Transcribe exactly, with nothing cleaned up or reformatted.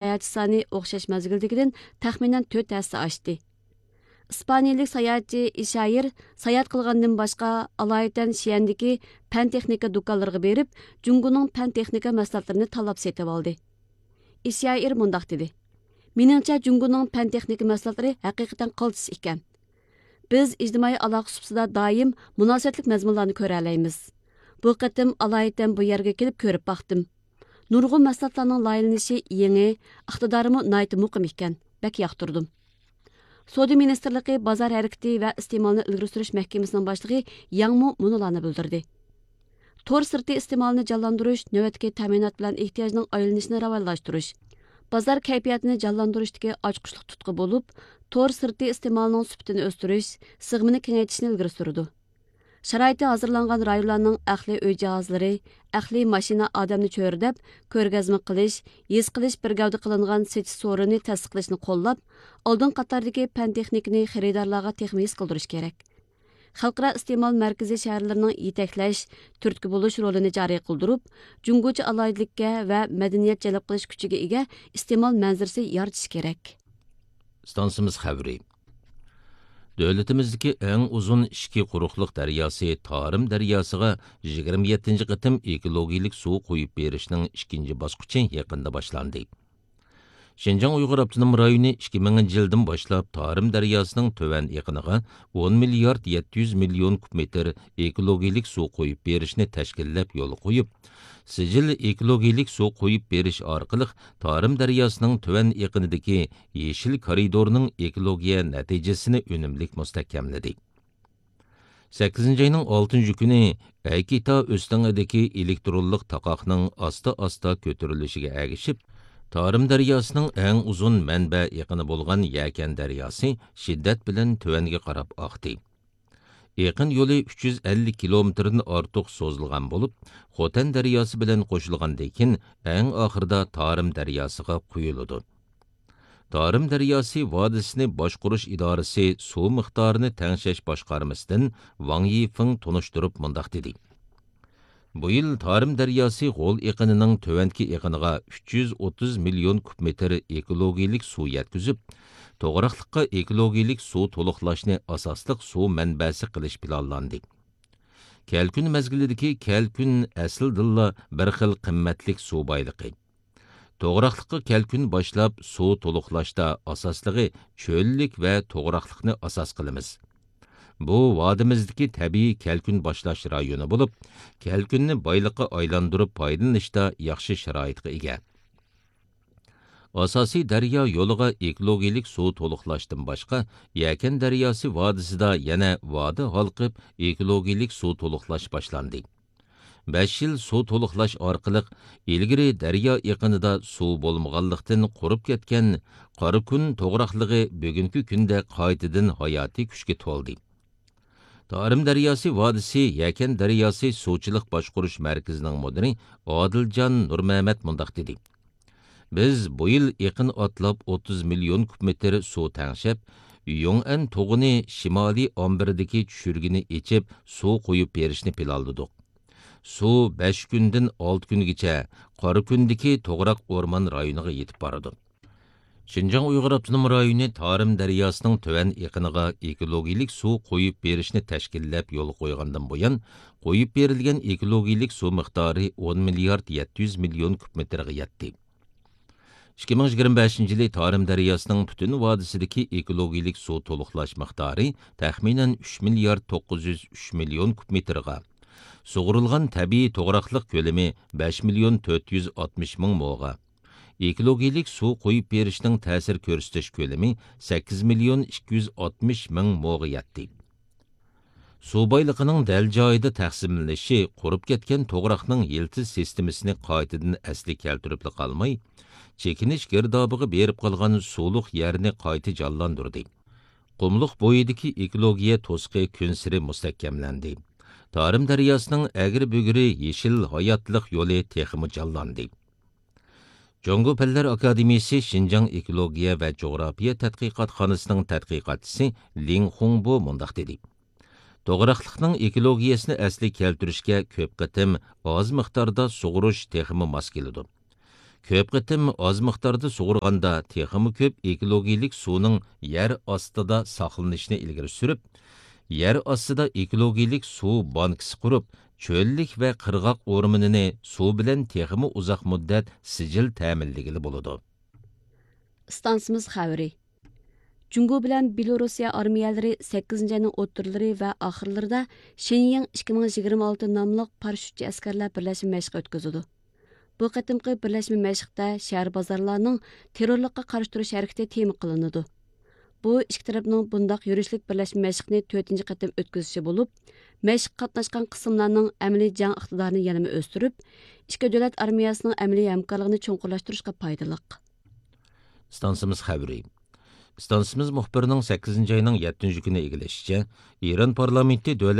ساياھەتچى سانى ئوخشاش مەزگىلدىكىدىن تەخمىنەن تۆت ھەسسە ئاشتى. ئىسپانىيىلىك ساياھەتچى ئىشايىر ساياھەت قىلغاندىن باشقا، ئالايىتەن شيەندىكى پەن تېخنىكا دۇكانلىرىغا بېرىپ، جۇڭگونىڭ پەن تېخنىكا مەھسۇلاتلىرىنى تاللاپ سېتىۋالدى. ئىشايىر مۇنداق دېدى: مېنىڭچە، جۇڭگونىڭ پەن تېخنىكا مەھسۇلاتلىرى ھەقىقەتەن قالتىس ئىكەن. بىز ئىجتىمائىي ئالاقە سۇپىسىدا دائىم مۇناسىۋەتلىك مەزمۇنلارنى كۆرەلەيمىز. بۇ قېتىم ئالايىتەن بۇ يەرگە كېلىپ كۆرۈپ باقتىم. نۇرغۇن مەھسۇلاتلارنىڭ لايىھەلىنىشى يېڭى، ئىقتىدارىمۇ ناھايىتى مۇقىم ئىكەن. بەك ياقتۇردۇم. سودا مىنىستىرلىقى بازار ھەرىكىتى ۋە ئىستېمالنى ئىلگىرى سۈرۈش مەھكىمىسىنىڭ باشلىقى ياڭمۇ مۇنۇلارنى بىلدۈردى: تور سىرتى ئىستېمالىنى جانلاندۇرۇش نۆۋەتتىكى تەمىنات بىلەن ئېھتىياجنىڭ ئايلىنىشىنى راۋانلاشتۇرۇش، بازار كەيپىياتىنى جانلاندۇرۇشتىكى ئاچقۇچلۇق تۇتقا بولۇپ، تور سىرتى ئىستېمالىنىڭ سۈپىتىنى ئۆستۈرۈش، سىغىمىنى كېڭەيتىشنى ئىلگىرى سۈرىدۇ. شارائىتى ھازىرلانغان رايونلارنىڭ ئەقلىي ئۆي جاھازلىرى، ئەقلىي ماشىنا ئادەمنى چۆرىدەپ، كۆرگەزمە قىلىش، ھېس قىلىش بىر گەۋدە قىلىنغان سېتىش سورۇنىنى تەسىس قىلىشنى قوللاپ، ئالدىن قاتاردىكى پەن تېخنىكىنى خېرىدارلارغا تېخىمۇ ھېس قىلدۇرۇش كېرەك. خەلقئارا ئىستېمال مەركىزى شەھەرلىرىنىڭ يېتەكلەش، تۈرتكە بولۇش رولىنى جارى قىلدۇرۇپ، جۇڭگوچە ئالاھىدىلىككە ۋە مەدەنىيەت جەلپ قىلىش كۈچىگە ئىگە ئىستېمال مەنزىرىسى يارىتىش كېرەك. ئىستانسىمىز خەۋىرى. دۆلىتىمىزدىكى ئەڭ ئۇزۇن ئىچكى قۇرۇقلۇق دەرياسى تارىم دەرياسىغا يىگىرمە يەتتىنچى قېتىم ئېكولوگىيەلىك سۇ قۇيۇپ بېرىشنىڭ ئىككىنچى باسقۇچى يېقىندا باشلاندى. شىنجاڭ ئۇيغۇر ئاپتونوم رايونى ئىككى مىڭىنچى يىلدىن باشلاپ تارىم دەرياسىنىڭ تۆۋەن ئېقىنىغا ئون مىليارد يەتتە يۈز مىليون كۇب مېتىر ئېكولوگىيەلىك سۇ قۇيۇپ بېرىشنى تەشكىللەپ يولغا قويۇپ، سىجىل ئېكولوگىيەلىك سۇ قۇيۇپ بېرىش ئارقىلىق تارىم دەرياسىنىڭ تۆۋەن ئېقىنىدىكى يېشىل كارىدورنىڭ ئېكولوگىيە نەتىجىسىنى ئۈنۈملۈك مۇستەھكەملىدى. سەككىزىنچى ئاينىڭ ئالتىنچى كۈنى ئەيكىتا ئۆستىڭىدىكى ئېلېكترونلۇق تاقاقنىڭ ئاستا-ئاستا كۆتۈرۈلۈشىگە ئەگىشىپ، تارىم دەرياسىنىڭ ئەڭ ئۇزۇن مەنبە ئېقىنى بولغان يەكەن دەرياسى شىددەت بىلەن تۆۋەنگە قاراپ ئاقتى. ئېقىن يولى ئۈچ يۈز ئەللىك كىلومېتىردىن ئارتۇق سوزۇلغان بولۇپ، خوتەن دەرياسى بىلەن قوشۇلغاندىن كېيىن، ئەڭ ئاخىرىدا تارىم دەرياسىغا قۇيۇلىدۇ. تارىم دەرياسى ۋادىسىنى باشقۇرۇش ئىدارىسى سۇ مىقدارىنى تەڭشەش باشقارمىسىدىن ۋاڭ يىفېڭ تونۇشتۇرۇپ مۇنداق دېدى: بۇ يىل تارىم دەرياسى غول ئېقىنىنىڭ تۆۋەنكى ئېقىنىغا ئۈچ يۈز ئوتتۇز مىليون كۇب مېتىر ئېكولوگىيەلىك سۇ يەتكۈزۈپ، توغراقلىققا ئېكولوگىيەلىك سۇ تولۇقلاشنى ئاساسلىق سۇ مەنبەسى قىلىش پىلانلاندى. كەلكۈن مەزگىلىدىكى كەلكۈن ئەسلىدىنلا بىر خىل قىممەتلىك سۇ بايلىقى. توغراقلىققا كەلكۈن باشلاپ سۇ تولۇقلاشتا ئاساسلىقى چۆللۈك ۋە توغراقلىقنى ئاساس قىلىمىز. بۇ ۋادىمىزدىكى تەبىئىي كەلكۈن باشلاش رايونى بولۇپ، كەلكۈننى بايلىققا ئايلاندۇرۇپ پايدىلىنىشتا ياخشى شارائىتقا ئىگە. ئاساسىي دەريا يولىغا ئېكولوگىيەلىك سۇ تولۇقلاشتىن باشقا، يەكەن دەرياسى ۋادىسىدا يەنە ۋادە ھالقىپ ئېكولوگىيەلىك سۇ تولۇقلاش باشلاندى. بەش يىل سۇ تولۇقلاش ئارقىلىق ئىلگىرى دەريا ئېقىنىدا سۇ بولمىغانلىقتىن قۇرۇپ كەتكەن قاراكۈن توغراقلىقى بۈگۈنكى كۈندە قايتىدىن ھاياتىي كۈچكە تولدى. تارىم دەرياسى ۋادىسى يەكەن دەرياسى سۇچىلىق باشقۇرۇش مەركىزىنىڭ مۇدىرى ئادىلجان نۇرمەمەت مۇنداق دېدى: بىز بۇ يىل ئېقىن ئاتلاپ ئوتتۇز مىليون كۇب مېتىر سۇ تەڭشەپ، يۇڭئەن توغىنى شىمالىي ئامبىرىدىكى چۈشۈرگىنى ئېچىپ، سۇ قۇيۇپ بېرىشنى پىلانلىدۇق. سۇ بەش كۈندىن ئالتە كۈنگىچە قاراكۈندىكى توغراق ئورمان رايونىغا يېتىپ بارىدۇ. شىنجاڭ ئۇيغۇر ئاپتونوم رايونى تارىم دەرياسىنىڭ تۆۋەن ئېقىنىغا ئېكولوگىيەلىك سۇ قۇيۇپ بېرىشنى تەشكىللەپ يولغا قويغاندىن بۇيان، قۇيۇپ بېرىلگەن ئېكولوگىيەلىك سۇ مىقدارى ئون مىليارد يەتتە يۈز مىليون كۇب مېتىرغا يەتتى. ئىككى مىڭ يىگىرمە بەشىنچى يىلى تارىم دەرياسىنىڭ پۈتۈن ۋادىسىدىكى ئېكولوگىيەلىك سۇ تولۇقلاش مىقدارى تەخمىنەن ئۈچ مىليارد توققۇز يۈز ئۈچ مىليون كۇب مېتىرغا، سۇغۇرۇلغان تەبىئىي توغراقلىق كۆلىمى بەش مىليون تۆت يۈز ئاتمىش مىڭ موغا، ئېكولوگىيەلىك سۇ قۇيۇپ بېرىشنىڭ تەسىر كۆرسىتىش كۆلىمى سەككىز مىليون ئىككى يۈز ئاتمىش مىڭ موغا يەتتى. سۇ بايلىقىنىڭ دەل جايىدا تەقسىملىنىشى قۇرۇپ كەتكەن توغراقنىڭ يىلتىز سىستېمىسىنى قايتىدىن ئەسلىگە كەلتۈرۈپلا قالماي، چېكىنىش گىردابىغا بېرىپ قالغان سۇلۇق يەرنى قايتا جانلاندۇردى. قۇملۇق بويىدىكى ئېكولوگىيە توسۇقى كۈنسېرى مۇستەھكەملەندى. تارىم دەرياسىنىڭ ئەگرى بۈگرى يېشىل ھاياتلىق يولى تېخىمۇ جانلاندى. جۇڭگو پەنلەر ئاكادېمىيىسى شىنجاڭ ئېكولوگىيە ۋە جۇغراپىيە تەتقىقاتخانىسىنىڭ تەتقىقاتچىسى لىڭ خۇڭبو مۇنداق دېدى: توغراقلىقنىڭ ئېكولوگىيەسىنى ئەسلىگە كەلتۈرۈشكە كۆپ قېتىم ئاز مىقداردا سۇغۇرۇش تېخىمۇ ماس كېلىدۇ. كۆپ قېتىم ئاز مىقداردا سۇغۇرغاندا تېخىمۇ كۆپ ئېكولوگىيىلىك سۇنىڭ يەر ئاستىدا ساقلىنىشىنى ئىلگىرى سۈرۈپ، يەر ئاستىدا ئېكولوگىيىلىك سۇ بانكىسى قۇرۇپ، چۆللۈك ۋە قىرغاق ئورمىنىنى سۇ بىلەن تېخىمۇ ئۇزاق مۇددەت سىجىل تەمىنلىگىلى بولىدۇ. ئىستانسىمىز خەۋىرى. جۇڭگو بىلەن بېلورۇسىيە ئارمىيەلىرى سەككىزىنچى ئاينىڭ ئوتتۇرىلىرى ۋە ئاخىرلىرىدا شېنيىڭ ئىككى مىڭ يىگىرمە ئالتە ناملىق پاراشوتچى ئەسكەرلەر بىرلەشمە مەشقى ئۆتكۈزىدۇ. بۇ قېتىمقى بىرلەشمە مەشىقتە شەھەر بازارلارنىڭ تېررورلۇققا قارشى تۇرۇش ھەرىكىتى تېما قىلىنىدۇ. بۇ ئىككى تەرەپنىڭ بۇنداق يۈرۈشلۈك بىرلەشمە مەشىقنى تۆتىنچى قېتىم ئۆتكۈزۈشى بولۇپ، مەشىققە قاتناشقان قىسىملارنىڭ ئەمەلىي جەڭ ئىقتىدارىنى يەنىمۇ ئۆستۈرۈپ، ئىككى دۆلەت ئارمىيەسىنىڭ ئەمەلىي ھەمكارلىقىنى چوڭقۇرلاشتۇرۇشقا پايدىلىق. ئىستانسىمىز خەۋىرى. ئىستانسىمىز مۇخبىرىنىڭ سەككىزىنچى ئاينىڭ يەتتىنچى كۈنى ئىگىلىشىچە، ئىران پارلامېنتى دۆلەت